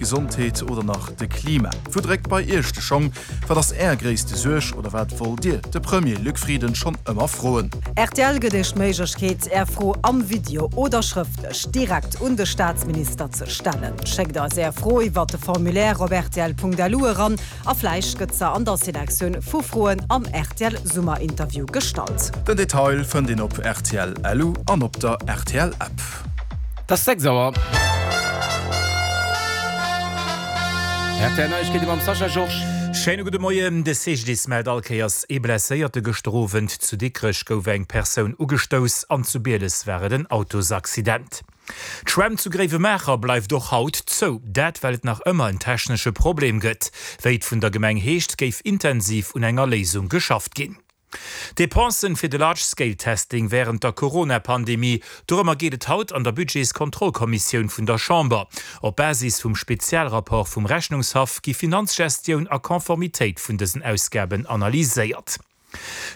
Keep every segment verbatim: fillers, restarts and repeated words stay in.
Gesondheet oder nach de Klima. Wou dréckt bei Iech de Schong? Wat ass Är gréisste Suerg oder wat wollt Dir de Premier Luc Frieden schonn ëmmer froen? Rtl gëtt Iech d'Méiglechkeet, Är Fro am Video oder schrëftlech direkt un de Staatsminister ze stellen. Schéckt eis Är Fro iwwer de Formulaire op rtl.lu eran a vläicht gëtt se an der Selektioun vu Froen am rtl Summerinterview gestallt. Den Detail fënnt een op rtl.lu an op der rtl App. Et ass sechs Auer. R T L Neiegkeete mam Sascha Georges. Schéine gudde Moien. De C G D I S mellt all Kéiers ee Blesséierte. Gëschter Owend zu Dikrech gouf eng Persoun ugestouss an zu Bieles war et en Autosaccident. D'Schwämm zu Gréiwemaacher bleift och haut zou. Dat well et nach ëmmer en technesche Problem gëtt. Wéi et vun der Gemeng heescht, géif intensiv un enger Léisung geschafft ginn. D'Depensen fir de Large-Scale-Testing wärend der Corona-Pandemie, dorëmmer geet et haut an der Budgetskontrollkommissioun vun der Chamber. Op Basis vum Spezialrapport vum Rechnungshaff gi Finanzgestioun a Konformitéit vun dësen Ausgaben analyséiert.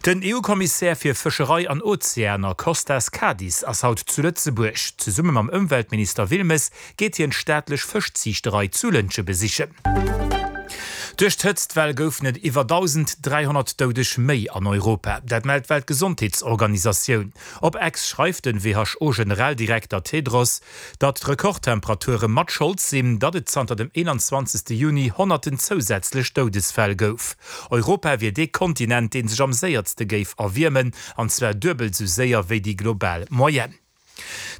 Den E U-Kommissär fir Fëscherei an Ozeaner Costas Kadis ass haut zu Lëtzebuerg. Zesumme mam Ëmweltminister Wilmes geet hien d'staatlech Fëschziichterei zu Lëntge besichen. Duerch d'Hëtztwell goufen et iwwer dausend dräihonnert Doudeg méi an Europa. Dat mellt d'Weltgesondheetsorganisatioun. Op X schreift den W H O-Generaldirekter Tedros, datt d'Rekordtemperature mat Schold sinn, datt et zanter dem eenanzwanzegste Juni honnerten zousätzlech Doudesfäll gouf. Europa wier dee Kontinent, dee sech am séierste géif erwiermen, an zwar duebel sou séier wéi déi global Moyenne.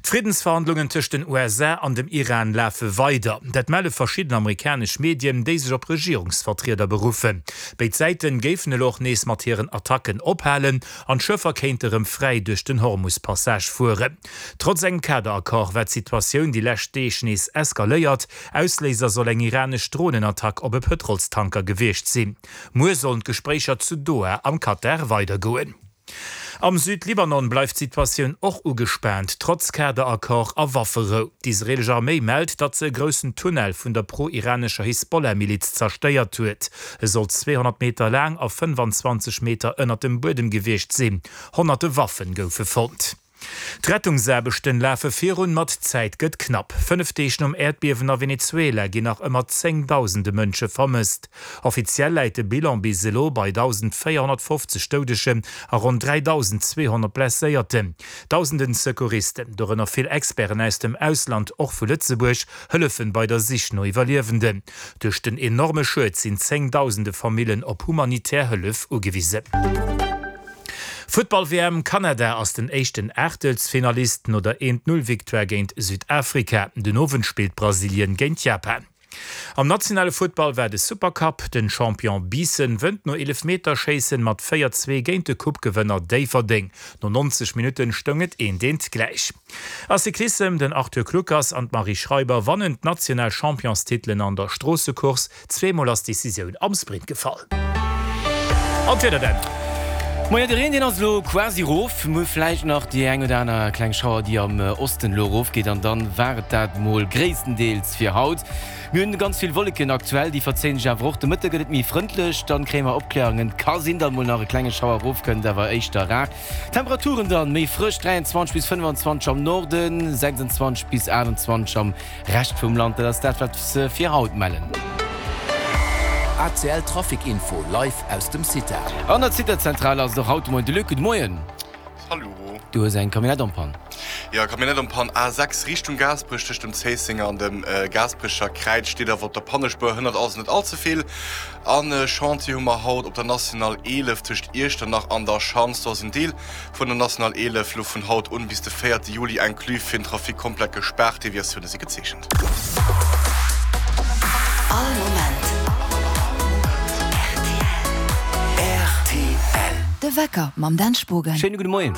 D'Friddensverhandlungen tëscht den U S A an dem Iran lafe weider. Dat melle verschidden amerikanesch Medien, déi sech op Regierungsvertrieder beruffen. Béid Säite géifen elo och nees mat hiren Attacken ophalen an d'Schëffer kéinte rëm fräi duerch den Hormus-Passage fueren. Trotz engem Kaderaccord war d'Situatioun déi lescht Deeg nees eskaléiert. Ausléiser soll eng iranesch Dronenattack op e Pëtrolstanker gewiescht sinn. Muer sollen d'Gespréicher zu Doha am Katar weidergoen. Am Südlibanon bleift d'Situatioun och ugespaant, trotz Kaderaccord a Wafferou. D'israeelesch Arméi mellt, datt se e groussen Tunnel vun der pro-iranescher Hisbollah-Miliz zerstéiert huet. E soll zweehonnert Meter laang a fënnefanzwanzeg Meter ënnert dem Buedem gewiescht sinn. Honnerte Waffen goufe fonnt. D'Rettungsaarbechten lafe virun, ma d'Zäit gëtt knapp. Fënnef Deeg nom Äerdbiewen a Venezuela ginn nach ëmmer zéngdausende Mënsche vermësst. Offiziell läit de Bilan bis elo bei dausendvéierhonnertfofzeg Doudegen a ronn dräidausendzweehonnert Blesséierten. Dausenden Secouristen, dorënner vill Experten aus dem Ausland, och vu Lëtzebuerg, hëllefen bei der Sich no Iwwerliewenden. Duerch den enorme Schued sinn zéngdausende Famillen op humanitär Hëllef ugewisen. Futtball-W M, Kanada ass den éischten Aachtelsfinalist no der eent-null-Victoire géint Südafrika. Den Owend spillt Brasilien géint Japan. Am nationale Futtball war de Supercup, Den Champion Biissen wënnt no Eelefmeterschéissen mat véier zwee géint de Coupe-Gewënner Déifferdeng. No neunzeg Minutten stoung et eent eent gläich. A Cyclissem, Den Arthur Kluckers an d'Marie Schreiber wannen d'national Championstitelen an der Stroossecourse. Zweemol ass d'Decisioun am Sprint gefall. An d'Wieder dann. Moien, de Reen deen ass elo quasi rof. Mir hu vläicht nach déi eng oder aner kleng Schauer déi am Osten elo erofgeet an dann war et dat mol gréisstendeels fir haut. Mir hunn ganz vill Wolleken aktuell, déi verzéien sech awer och. De Mëtte gëtt et méi frëndlech, dann kréie mer Opkläerungen. Ka sinn datt mol nach e klenge Schauer erofkënnt, awer éischter rar. Temperaturen dann méi frësch, dräianzwanzeg bis fënnefanzwanzeg am Norden, sechsanzwanzeg bis aachtanzwanzeg am Rescht vum Land. Dat ass dat wat se fir haut mellen. A C L Trafic Info live aus dem CITA. An der CITA-Zentral ass et och haut de Moien de Luc. Gudde Moien. Hallo. Du hues eng Camionnette en panne. Jo, Camionnette en panne A sechs Richtung Gaasperech tëscht dem Zéissenger an dem Gaasperecher Kräiz steet awer op der Pannespuer, hënnert also net all ze vill. An Chantier hu mer haut op der National eelef tëscht Iechternach an der Schanz. Do ass en Deel vun der National eelef lo vun haut un bis de véierte Juli inclus fir den Trafic komplett gespaart. Deviatioune si gezeechent. All Moment R T L. De Wecker mam Dan Spogen. Schéine gudde Moien.